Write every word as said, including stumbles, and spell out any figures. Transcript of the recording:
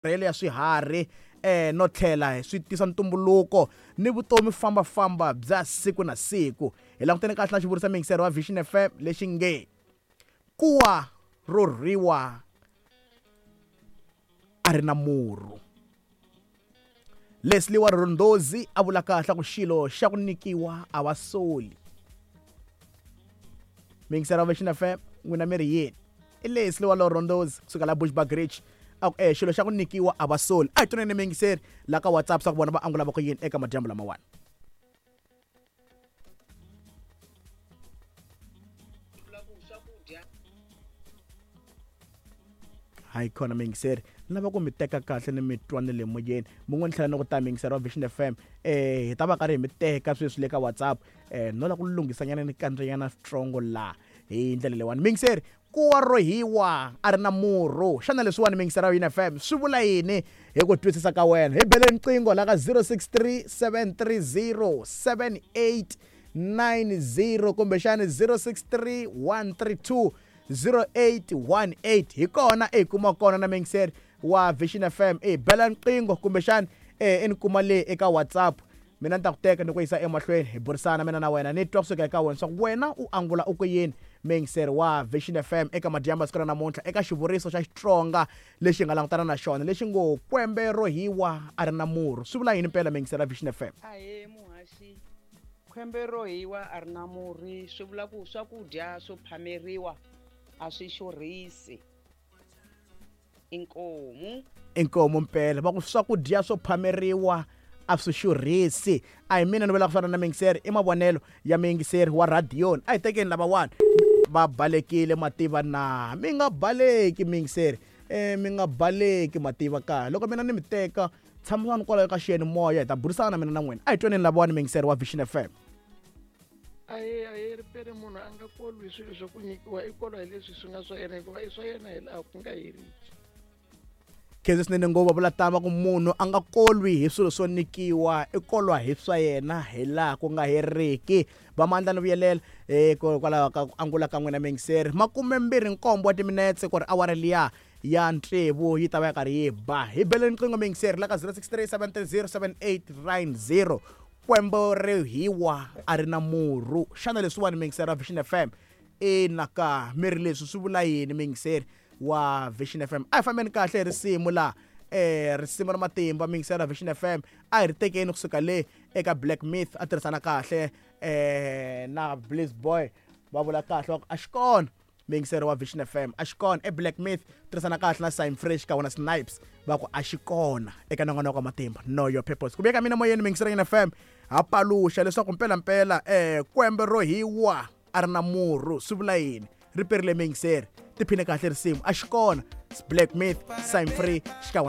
Matirhelo ya swiharhi eh no tlhela swi tisa ntumbuluko ni vutomi fambafamba bya siku na siku. Hi langutene kahle na xivuriso miyingiseri wa Vision F M lexi nge kuwa ro rhiwa a ri na murhu. Leslie wa Rondozi a vula kahle ku xilo xa ku nyikiwa a va soli. Miyingiseri wa Vision F M n'wina mi ri yini? I Leslie wa Rondozi kusuka la Bushbuckridge. A ku eh xilo xa ku nyikiwa a va soli. A hi twaneni miyingiseri la ka WhatsApp swa ku vona va angula va ku yini eka madyambu lamawani. Hayi khona miyingiseri ni lava ku mi teka kahle ni mi twa ni le moyeni. Mun'we ni tlhela ni ku ta miyingiseri wa Vision F M eh hi ta va karhi hi mi teka sweswi le ka WhatsApp eh no la ku lunghisanyana ni kandziyana switsongo laha hi ndlela leyiwani. Miyingiseri kuwa ro hiwa a ri na murhu. Xana leswiwani miyingiseri wa Vision F M swi vula yini hi ku twisisa ka wena? Hi bele riqingho la ka zero six three seven three zero seven eight nine zero kumbexani zero six three one three two zero eight one eight. Hi kona e kuma kona na miyingiseri wa Vision F M. E bela riqingho kumbexani e ni kuma le eka WhatsApp. Mina ni ta ku teka ni ku yisa emahlweni hi burisana mina na wena ni twa kusuka eka wena swa ku wena u angula u ku yini miyingiseri wa Vision F M eka madyambu ya siku ra namuntlha eka xivuriso xa Xitsonga lexi nga langutana na xona lexi ngo kwembe ro hiwa a ri na murhu. Swi vula yini mpela miyingiseri wa Vision F M? Ahee muhaxi, kwembe ro hiwa a ri na murhi swi vula ku swakudya swo phameriwa a swi xurhisi. Inkomu. Inkomu mpela va ku swakudya swo phameriwa a swi xurhisi. A hi mina ni vulaka swona na miyingiseri, i mavonelo ya miyingiseri wa radioni. A hi tekeni lavawani va balekile mativa na mi nga baleki miyingiseri eh mi nga baleki mativa ka loko mina ni mi teka tshamisani kwalaho ka xiyanimoya hi ta burisana mina na n'wina. A hi twaneni lavawani miyingiseri wa Vision F M. Aye aye ripere munhu a nga kolwi hi swilo swa ku nyikiwa, i kolwa hi leswi swi nga swa yena hikuva i swa yena hi laha ku nga heriki. Khensa swinene ngopfu va vula tama ku munhu a nga kolwi hi swilo swo nyikiwa, i kolwa hi swa yena hi laha ku nga heriki. Va mandla ni vuyelela hikwalaho ka ku angula ka n'wina miyingiseri. Makume mbirhi nkombo wa timinetse ku ri awara liya ya tsevu yi ta va ya karhi yi ba. Hi bele riqingho miyingiseri la ka zero six three seven three zero seven eight nine zero. Kwembe ri hiwa a ri na murhu. Xana leswiwani miyingiseri wa Vision F M ina ka mi ri leswi swi vula yini miyingiseri wa Vision F M? A hi fambeni kahle hi risimu la eh risimu ra matimba miyingiseri wa Vision F M. A hi ri tekeni kusuka le eka Black Myth a tirhisana kahle eh na Bliss Boy va vula kahle va ku a xi kona miyingiseri wa Vision F M. A xi kona e Black Myth tirhisana kahle na Sign Fresh ka wona Snipes va ku a xi kona eka nongonoko wa matimba Know Your Purpose. Ku veka mina moyeni miyingiseri ya F M ha paluxa leswaku mpela mpela eh kwembe ro hiwa a ri na murhu swi vula yini? Ri perile miyingiseri tiphine kahle risimu a xi kona Black Myth Sign Free xi ka wona.